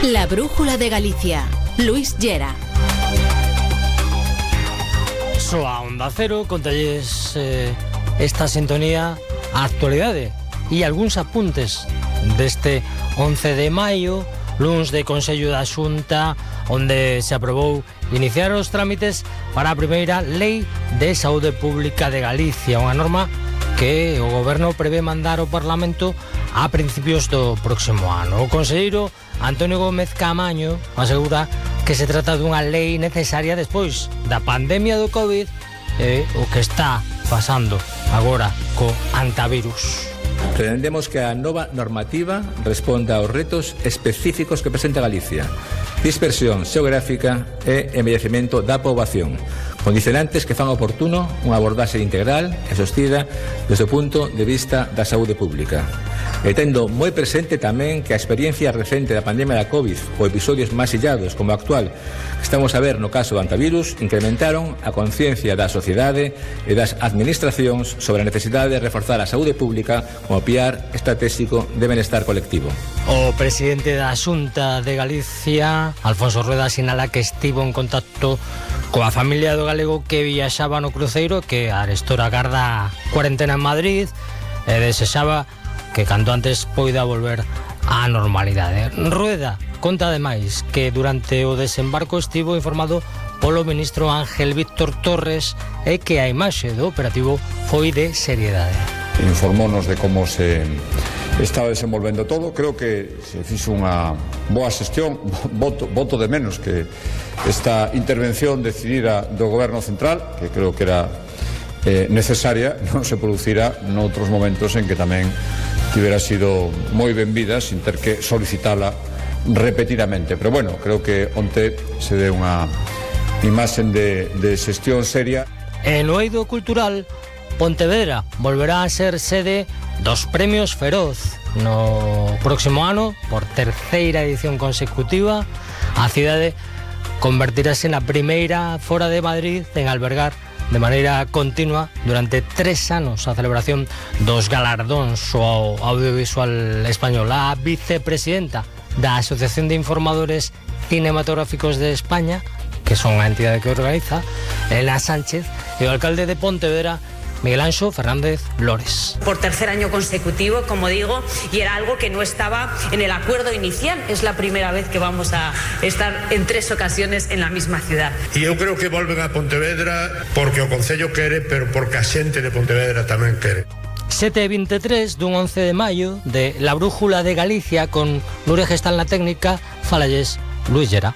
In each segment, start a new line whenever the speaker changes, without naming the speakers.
La Brújula de Galicia. Luis Llera.
Soa Onda Cero, contalles esta sintonía a actualidade e algúns apuntes deste 11 de maio, luns de Consello da Xunta, onde se aprobou iniciar os trámites para a primeira Lei de Saúde Pública de Galicia, unha norma que o Goberno prevé mandar ao Parlamento a principios do próximo ano. O conselleiro Antonio Gómez Caamaño asegura que se trata dunha lei necesaria despois da pandemia do COVID e o que está pasando agora co antivirus.
Pretendemos que a nova normativa responda aos retos específicos que presenta Galicia: dispersión xeográfica e envellecemento da poboación, condicionantes que fan oportuno unha abordaxe integral e sostida desde o punto de vista da saúde pública. E tendo moi presente tamén que a experiencia recente da pandemia da COVID ou episodios máis illados como o actual que estamos a ver no caso do antivirus incrementaron a conciencia da sociedade e das administracións sobre a necesidade de reforzar a saúde pública como piar estratégico de benestar colectivo.
O presidente da Xunta de Galicia, Alfonso Rueda, sinala que estivo en contacto coa familia do galego que viaxaba no cruceiro, que arestora garda cuarentena en Madrid, e desexaba que canto antes poida volver á normalidade. Rueda conta ademais que durante o desembarco estivo informado polo ministro Ángel Víctor Torres e que a imaxe do operativo foi de seriedade.
Informónos de como se estaba desenvolvendo todo. Creo que se fixo unha boa xestión. Voto de menos que esta intervención decidida do Goberno Central, que creo que era necesaria, non se producirá noutros momentos en que tamén tivera sido moi benvida sin ter que solicitala repetidamente. Pero bueno, creo que onte se dé unha imaxen de xestión seria.
En o eido cultural, Pontevedra volverá a ser sede dos Premios Feroz no próximo ano, por terceira edición consecutiva. A cidade convertirase na primeira fora de Madrid en albergar de maneira continua durante 3 anos a celebración dos galardóns ao audiovisual español. A vicepresidenta da Asociación de Informadores Cinematográficos de España, que son a entidade que organiza, Elena Sánchez, e o alcalde de Pontevedra, Miguel Anxo Fernández Lores.
Por tercer año consecutivo, como digo, y era algo que no estaba en el acuerdo inicial. Es la primera vez que vamos a estar en 3 ocasiones en la misma ciudad.
E eu creo que volven a Pontevedra porque o Concello quere, pero porque a xente de Pontevedra tamén quere.
7:23 dun 11 de maio de La Brújula de Galicia con Nuria Gestal na técnica, falalles Luis Llera.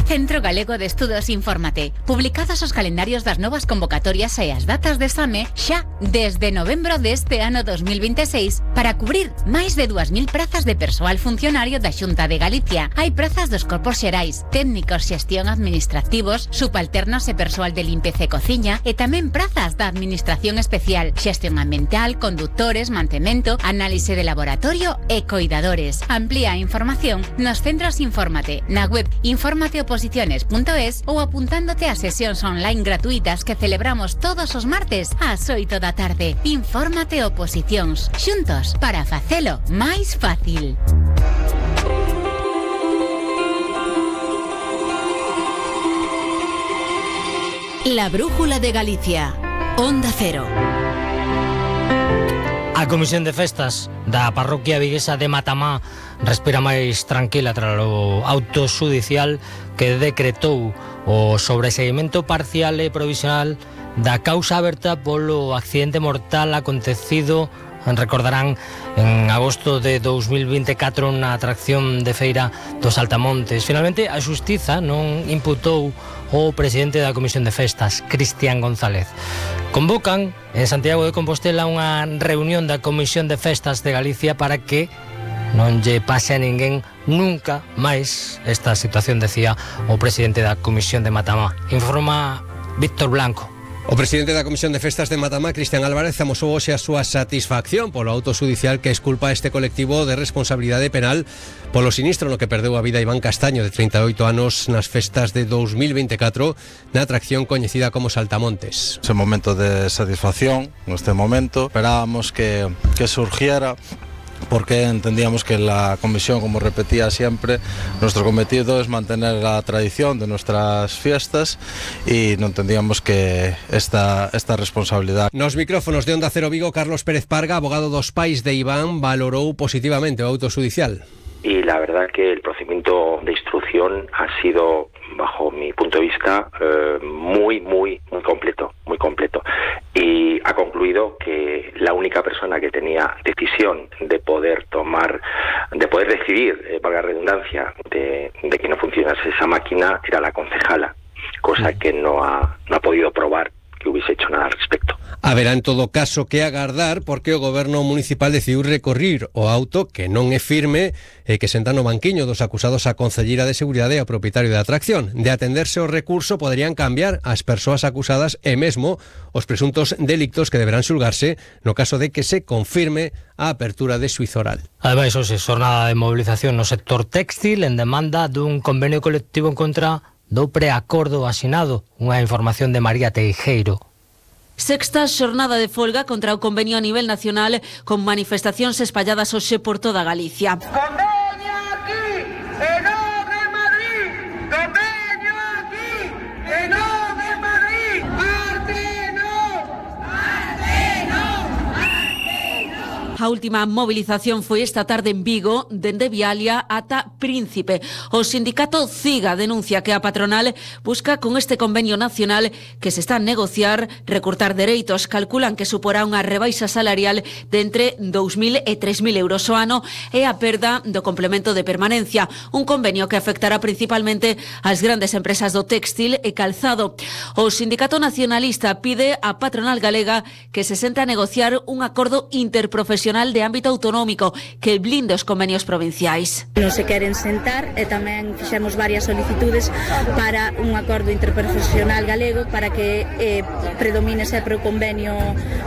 Centro Galego de Estudos Infórmate. Publicados os calendarios das novas convocatorias e as datas de exame xa desde novembro deste ano 2026 para cubrir máis de 2.000 prazas de persoal funcionario da Xunta de Galicia. Hai prazas dos corpos xerais, técnicos, xestión administrativos, subalternos e persoal de limpeza e cociña e tamén prazas da administración especial, xestión ambiental, conductores, mantemento, análise de laboratorio e coidadores. Amplía a información nos centros Infórmate, na web informateoposiciones.es ou apuntándote a sesións online gratuitas que celebramos todos os martes ás 8 da tarde. Infórmate Oposicións, xuntos para facelo máis fácil. La Brújula de Galicia. Onda Cero.
A Comisión de Festas da parroquia viguesa de Matamá respira máis tranquila tras o auto xudicial que decretou o sobreseguimento parcial e provisional da causa aberta polo accidente mortal acontecido, recordarán, en agosto de 2024 na atracción de feira dos Altamontes. Finalmente, a Xustiza non imputou o presidente da Comisión de Festas, Cristian González. Convocan en Santiago de Compostela unha reunión da Comisión de Festas de Galicia para que non lle pase a ninguén nunca máis esta situación, decía o presidente da Comisión de Matamá. Informa Víctor Blanco.
O presidente da Comisión de Festas de Matamá, Cristian Álvarez, amosou hoxe a súa satisfacción polo auto xudicial que exculpa a este colectivo de responsabilidade penal polo sinistro no que perdeu a vida Iván Castaño, de 38 anos, nas festas de 2024 na atracción coñecida como Saltamontes.
Ese momento de satisfacción, neste momento, esperábamos que surgiera, porque entendíamos que la comisión, como repetía siempre, nuestro cometido es mantener la tradición de nuestras fiestas y no entendíamos que esta responsabilidad.
Nos micrófonos de Onda Cero Vigo, Carlos Pérez Parga, abogado dos pais de Iván, valorou positivamente o auto xudicial.
Y la verdad que el procedimiento de instrucción ha sido, bajo mi punto de vista, muy completo. Y ha concluido que la única persona que tenía decisión de poder decidir, valga la redundancia, de que no funcionase esa máquina, era la concejala, cosa que no ha podido probar que hubiese hecho nada al respecto.
Haberá en todo caso que agardar porque o goberno municipal decidiu recorrir o auto, que non é firme e que senta no banquiño dos acusados a concelleira de Seguridade e ao propietario da atracción. De atenderse o recurso poderían cambiar as persoas acusadas e mesmo os presuntos delictos que deberán xulgarse no caso de que se confirme a apertura de xuízo oral.
Ademais, hoxe xornada de movilización no sector téxtil en demanda dun convenio colectivo en contra do preacordo asinado. Unha información de María Teijeiro.
Sexta xornada de folga contra o convenio a nivel nacional, con manifestacións espalladas hoxe por toda Galicia.
Convenio aquí, e non de Madrid. Convenio aquí, e non de Madrid. Arte non.
A última movilización foi esta tarde en Vigo, dende Vialia ata Príncipe. O sindicato CIGA denuncia que a patronal busca con este convenio nacional que se está a negociar recortar dereitos. Calculan que suporá unha rebaixa salarial de entre 2.000 e 3.000 euros ao ano e a perda do complemento de permanencia. Un convenio que afectará principalmente ás grandes empresas do téxtil e calzado. O sindicato nacionalista pide á patronal galega que se sente a negociar un acordo interprofesional de ámbito autonómico que blinde os convenios provinciais.
Non se queren sentar e tamén fixemos varias solicitudes para un acordo interprofesional galego para que predomine sempre o convenio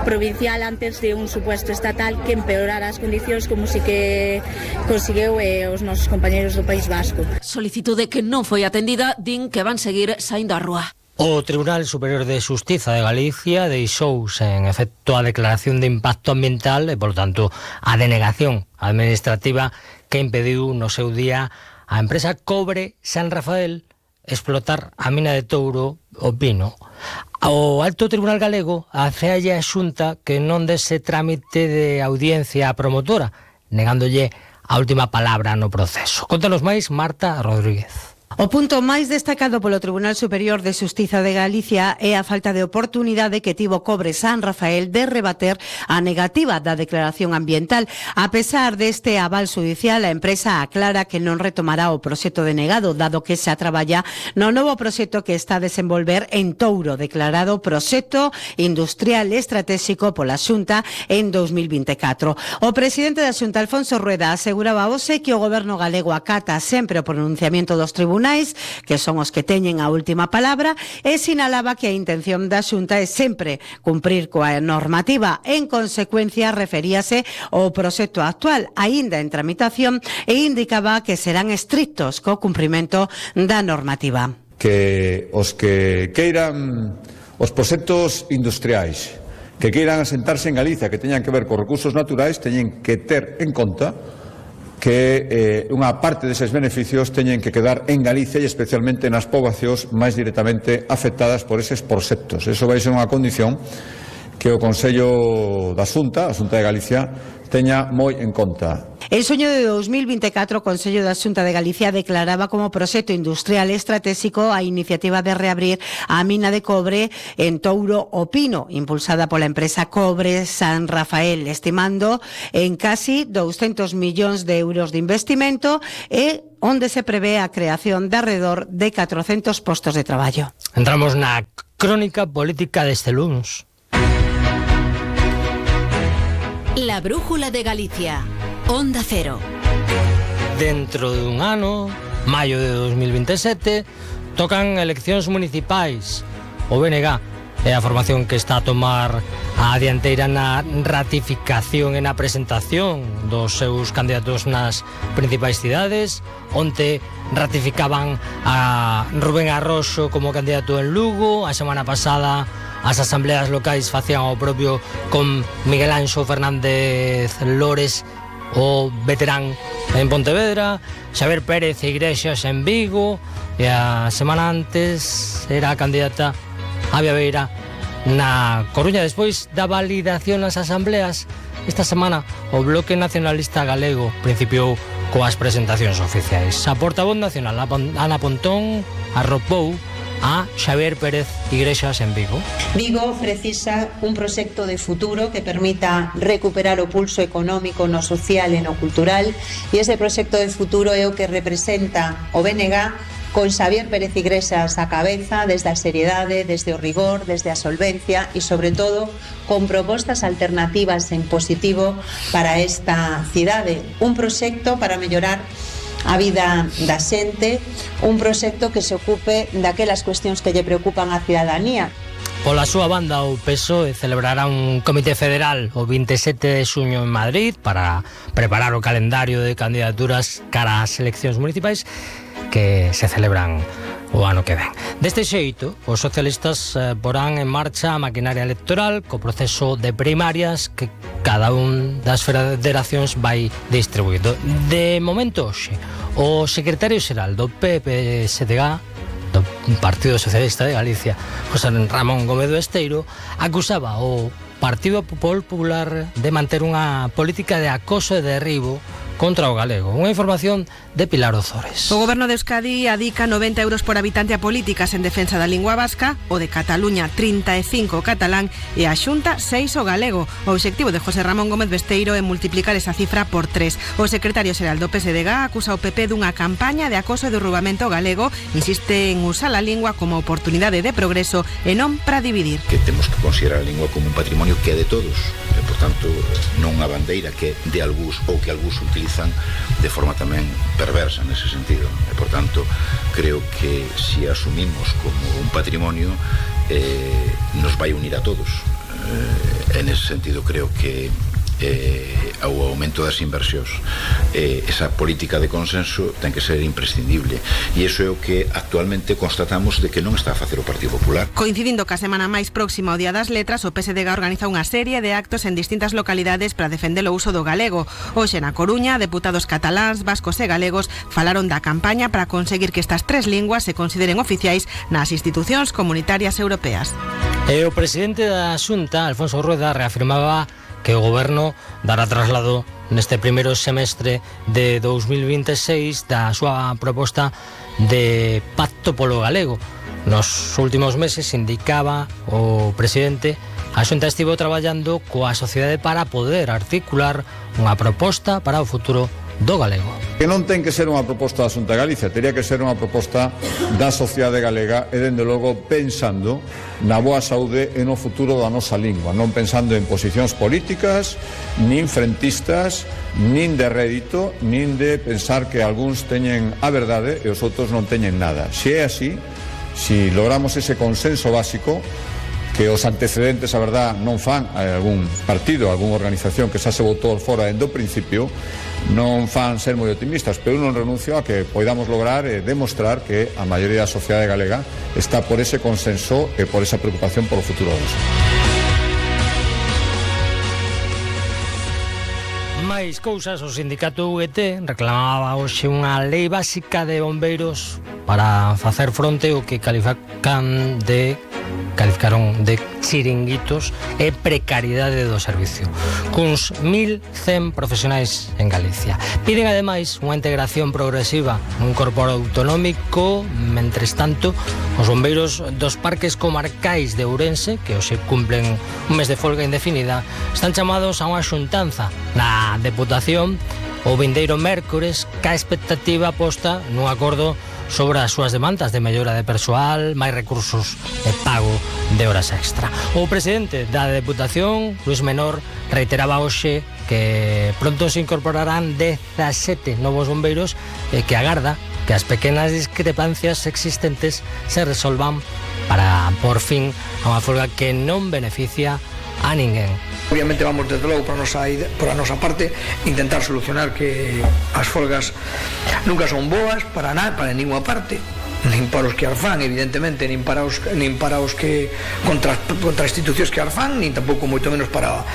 provincial antes de un supuesto estatal que empeorara as condicións como si que conseguiu os nosos compañeros do País Vasco.
Solicitude que non foi atendida, din que van seguir saindo á rúa.
O Tribunal Superior de Xustiza de Galicia deixou sen efecto a declaración de impacto ambiental e, por tanto, a denegación administrativa que impediu no seu día a empresa Cobre San Rafael explotar a mina de Touro o Pino. O Alto Tribunal Galego afealle a Xunta que non dese trámite de audiencia á promotora, negándolle a última palabra no proceso. Contanos máis, Marta Rodríguez.
O punto máis destacado polo Tribunal Superior de Xustiza de Galicia é a falta de oportunidade que tivo Cobre San Rafael de rebater a negativa da declaración ambiental. A pesar deste aval xudicial, a empresa aclara que non retomará o proxecto denegado, dado que xa traballa no novo proxecto que está a desenvolver en Touro, declarado proxecto industrial estratégico pola Xunta en 2024. O presidente da Xunta, Alfonso Rueda, aseguraba hoxe que o goberno galego acata sempre o pronunciamento dos tribunais, que son os que teñen a última palabra, e sinalaba que a intención da Xunta é sempre cumprir coa normativa. En consecuencia, referíase ao proxecto actual, aínda en tramitación, e indicaba que serán estrictos co cumprimento da normativa.
Que os que queiran os proxectos industriais que queiran asentarse en Galicia, que teñan que ver con recursos naturais, teñen que ter en conta que unha parte deses beneficios teñen que quedar en Galicia e especialmente nas poboacións máis directamente afectadas por eses proxectos. Eso vai ser unha condición que o Consello da Xunta, a Xunta de Galicia, teña moi en conta.
En soño de 2024, o Consello da Xunta de Galicia declaraba como proxecto industrial estratégico a iniciativa de reabrir a mina de cobre en Touro o Pino, impulsada pola empresa Cobre San Rafael, estimando en casi 200 millóns de euros de investimento e onde se prevé a creación de alrededor de 400 postos de traballo.
Entramos na crónica política deste lunes.
La brújula de Galicia. Onda Cero.
Dentro dun ano, maio de 2027, tocan eleccións municipais. O BNG é a formación que está a tomar a dianteira na ratificación e na presentación dos seus candidatos nas principais cidades. Onte ratificaban a Rubén Arroxo como candidato en Lugo, a semana pasada as asambleas locais facían o propio con Miguel Anxo Fernández Lores, o veterán en Pontevedra, Xavier Pérez Iglesias en Vigo, e a semana antes era a candidata Avia Beira na Coruña. Despois da validación nas asambleas, esta semana o Bloque Nacionalista Galego principiou coas presentacións oficiais. A portavoz nacional, Ana Pontón, arropou a Xavier Pérez Iglesias en Vigo.
Vigo precisa un proxecto de futuro que permita recuperar o pulso económico no social e no cultural, e ese proxecto de futuro é o que representa o BNG con Xavier Pérez Iglesias á cabeza, desde a seriedade, desde o rigor, desde a solvencia e, sobre todo, con propostas alternativas en positivo para esta cidade. Un proxecto para mellorar a vida da xente, un proxecto que se ocupe daquelas cuestións que lle preocupan á cidadanía.
Pola súa banda, o PSOE celebrará un comité federal o 27 de xuño en Madrid para preparar o calendario de candidaturas cara ás eleccións municipais que se celebran o ano que ven. Deste xeito, os socialistas porán en marcha a maquinaria electoral co proceso de primarias que cada un das federacións vai distribuindo. De momento, hoxe, o secretario xeral do PPSDG, do Partido Socialista de Galicia, José Ramón Gómez do Esteiro, acusaba o Partido Popular de manter unha política de acoso e derribo contra o galego. Unha información de Pilar Ozores.
O Goberno de Euskadi adica 90 euros por habitante a políticas en defensa da lingua vasca, o de Cataluña 35 o catalán e a Xunta 6 o galego. O obxectivo de José Ramón Gómez Besteiro é multiplicar esa cifra por 3. O secretario xeral do PSDG acusa o PP dunha campaña de acoso e derrubamento galego, insiste en usar a lingua como oportunidade de progreso e non para dividir.
Que temos que considerar a lingua como un patrimonio que é de todos, e, por tanto, non unha bandeira que de algúns ou que algúns utilizan de forma tamén perversa nese sentido. E, por tanto, creo que se asumimos como un patrimonio nos vai unir a todos. En ese sentido, creo que ao aumento das inversións esa política de consenso ten que ser imprescindible, e iso é o que actualmente constatamos de que non está a facer o Partido Popular.
Coincidindo ca semana máis próxima ao Día das Letras, o PSDG organiza unha serie de actos en distintas localidades para defender o uso do galego. Hoxe na Coruña, deputados cataláns, vascos e galegos falaron da campaña para conseguir que estas tres linguas se consideren oficiais nas institucións comunitarias europeas.
E o presidente da Xunta, Alfonso Rueda, reafirmaba que o Goberno dará traslado neste primeiro semestre de 2026 da súa proposta de pacto polo galego. Nos últimos meses, indicaba o presidente, a Xunta estivo traballando coa sociedade para poder articular unha proposta para o futuro do galego.
Que non ten que ser unha proposta da Xunta de Galicia, teria que ser unha proposta da sociedade galega e, dende logo, pensando na boa saúde e no futuro da nosa lingua, non pensando en posicións políticas, nin frentistas, nin de rédito, nin de pensar que algúns teñen a verdade e os outros non teñen nada. Se é así, se logramos ese consenso básico, que os antecedentes, a verdad, non fan a algún partido, a algunha organización que xa se votou fora dende o principio, non fan ser moi optimistas, pero non renuncio a que podamos lograr e demostrar que a maioría da sociedade galega está por ese consenso e por esa preocupación por o futuro deles.
Máis cousas, o sindicato UGT reclamaba hoxe unha lei básica de bombeiros para facer fronte ao que calificaron de chiringuitos e precariedade do servicio, cuns 1.100 profesionais en Galicia. Piden ademais unha integración progresiva nun corpo autonómico. Mentres tanto, os bombeiros dos parques comarcais de Ourense, que hoxe cumplen un mes de folga indefinida, están chamados a unha xuntanza na Deputación o vindeiro mércores, ca expectativa posta nun acordo sobre as súas demandas de mellora de persoal, máis recursos e pago de horas extra. O presidente da Deputación, Luis Menor, reiteraba hoxe que pronto se incorporarán 17 novos bombeiros e que agarda que as pequenas discrepancias existentes se resolvan para por fin a unha folga que non beneficia a ninguén.
Obviamente vamos desde logo por a nosa parte intentar solucionar que as folgas nunca son boas para ninguna parte, nin para os que as fan, evidentemente, nin para os que contra institucións que as fan, nin tampouco moito menos para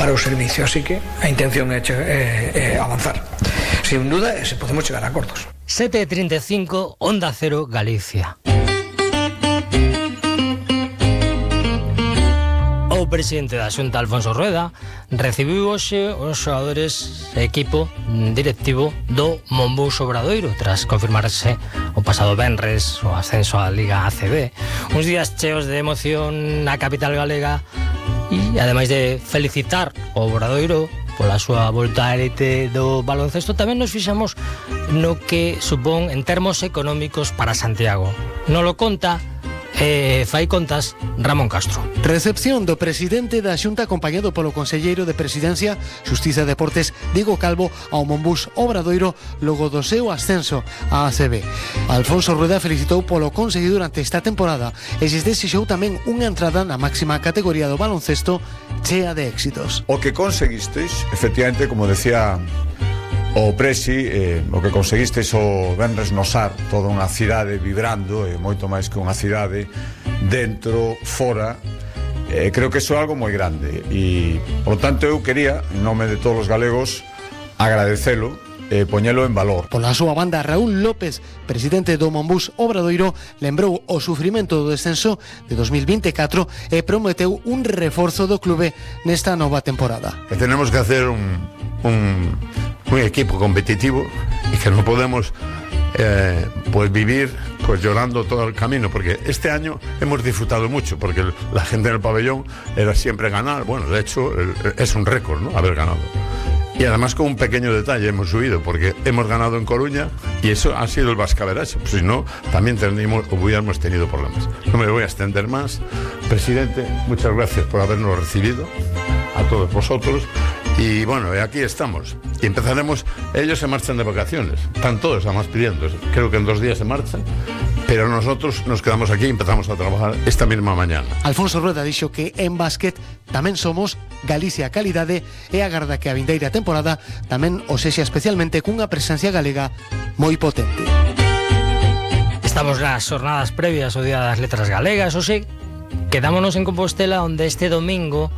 o servicio, así que a intención é avanzar. Sin duda, se podemos chegar a acordos.
7:35, Onda Cero, Galicia. O presidente da Xunta, Alfonso Rueda, recibiu hoxe os xogadores e equipo directivo do Monbus Obradoiro tras confirmarse o pasado venres o ascenso á Liga ACB. Uns días cheos de emoción na capital galega e, ademais de felicitar o Obradoiro pola súa volta á elite do baloncesto, tamén nos fixamos no que supón en termos económicos para Santiago. Non lo conta fai contas Ramón Castro.
Recepción do presidente da Xunta acompañado polo conselleiro de Presidencia, Xustiza e Deportes, Diego Calvo, ao Monbus Obradoiro logo do seu ascenso á ACB. Alfonso Rueda felicitou polo conseguido durante esta temporada e lles desexou tamén unha entrada na máxima categoría do baloncesto chea de éxitos.
O que conseguisteis, efectivamente, como decía o Presi, o que conseguisteis o venres no Sar, toda unha cidade vibrando, moito máis que unha cidade, dentro, fora, creo que iso é algo moi grande e, por tanto, eu quería, en nome de todos os galegos, agradecelo e poñelo en valor.
Pola súa banda, Raúl López, presidente do Monbus Obradoiro, lembrou o sufrimento do descenso de 2024 e prometeu un reforzo do clube nesta nova temporada.
Que tenemos que hacer un equipo competitivo y que no podemos pues vivir pues llorando todo el camino, porque este año hemos disfrutado mucho, porque la gente en el pabellón era siempre ganar. Bueno, de hecho es un récord, ¿no?, haber ganado. Y además con un pequeño detalle hemos subido, porque hemos ganado en Coruña y eso ha sido el bascaberacho, pues si no también hubiéramos tenido problemas. No me voy a extender más. Presidente, muchas gracias por habernos recibido a todos vosotros. Y bueno, aquí estamos. Y empezaremos, ellos se marchan de vacaciones, están todos además pidiendo, creo que en 2 días se marchan, pero nosotros nos quedamos aquí y empezamos a trabajar esta misma mañana.
Alfonso Rueda dixo que en básquet tamén somos Galicia calidade e agarda que a vindeira temporada tamén o sexa especialmente cunha presencia galega moi potente.
Estamos nas jornadas previas ao Día das Letras Galegas, hoxe quedámonos en Compostela, onde este domingo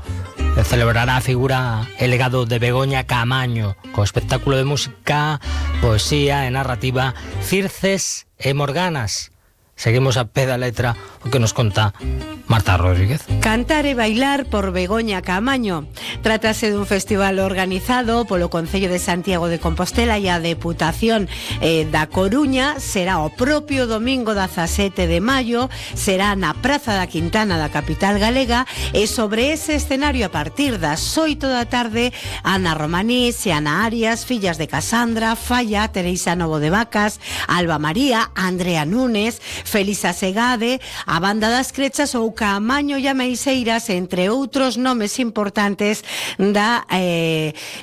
celebrará a figura e legado de Begoña Caamaño, co espectáculo de música, poesía e narrativa Circes e Morganas. Seguimos a pé da letra o que nos conta Marta Rodríguez.
Cantar e bailar por Begoña Caamaño. Trátase dun festival organizado polo Concello de Santiago de Compostela e a Deputación da Coruña. Será o propio domingo 17 de maio, será na Praza da Quintana da capital galega e sobre ese escenario a partir das 8 da tarde Ana Romanís e Ana Arias, fillas de Casandra, Falla, Teresa Novo de Vacas, Alba María, Andrea Núñez, Felisa Segade, a Banda das Crechas ou Caamaño e Ameixeiras, entre outros nomes importantes da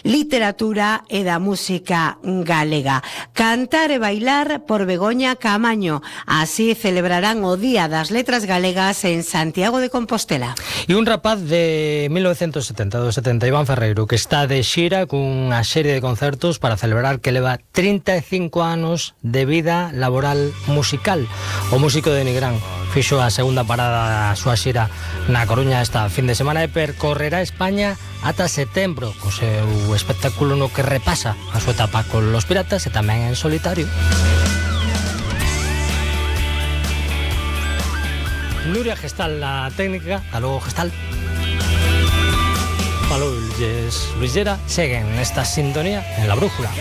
literatura e da música galega. Cantar e bailar por Begoña Caamaño. Así celebrarán o Día das Letras Galegas en Santiago de Compostela.
E un rapaz de 1972-70, Iván Ferreiro, que está de xira cunha serie de concertos para celebrar que leva 35 anos de vida laboral musical. O músico de Nigrán fixo a segunda parada da súa xira na Coruña esta fin de semana e percorrerá España ata setembro co seu espectáculo no que repasa a súa etapa con Los Piratas e tamén en solitario. Nuria Gestal na técnica, hasta logo Gestal. Palou Luis Llera, seguen nesta sintonía en La Brújula.